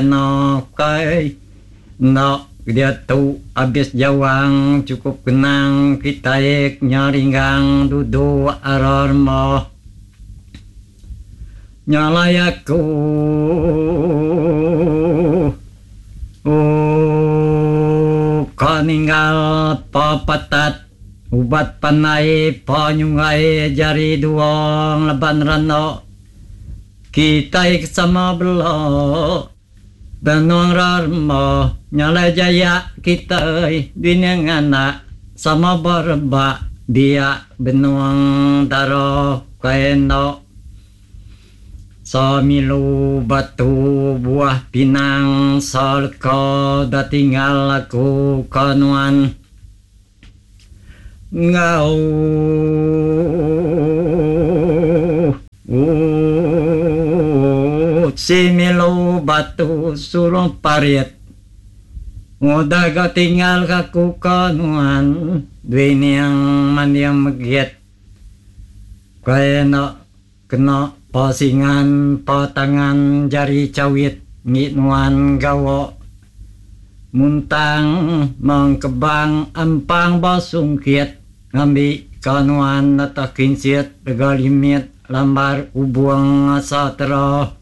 Kai enda diatu abis jawang chukup kenang kitai nya ringgang duduk ara remah. Nya alai aku ka ninggal pepetat ubat pandai penyunggai jari dua ngelaban randa. Kitai ke sama bela benung rarma nyalai jaya kitai bini nganak sama berebak biak benung dara kai enda semilu batu buah pinang seleka da tinggal aku ke nuan. Enggau si milu batu surung parit Ngudah ga tinggal ka ku ka nuan Dui niang manding megit Kai enda kena pa singan pa tangan jari chawit ngi nuan gawa Muntang mengkebang ampang ba sungkit ngambi ka nuan nata kinsit rega limit lambar ubung asa tera.